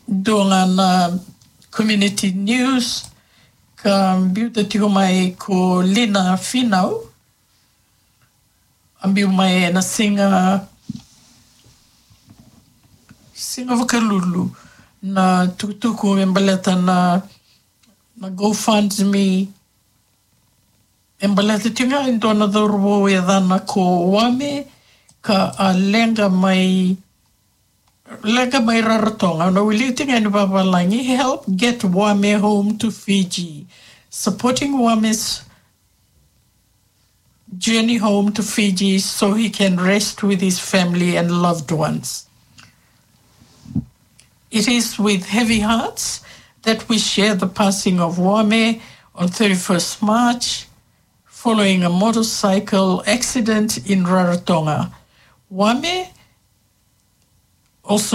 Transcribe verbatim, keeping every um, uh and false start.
dua ga na community news ka biuta tiko mai ko Lina Finau. A biu mai ena siga, siga Vakalulu na tukutuku me baleta na, na GoFundMe. E baleta tiko ga e dua na cauravou e yacana ko Wame ka a leqa mai, leqa mai Rarotonga. Na wilika tiko ga ni vavalagi: "Help get Wame home to Fiji. Supporting Wame's journey home to Fiji so he can rest with his family and loved ones." It is with heavy hearts that we share the passing of Wame on thirty-first March following a motorcycle accident in Rarotonga. Wame, also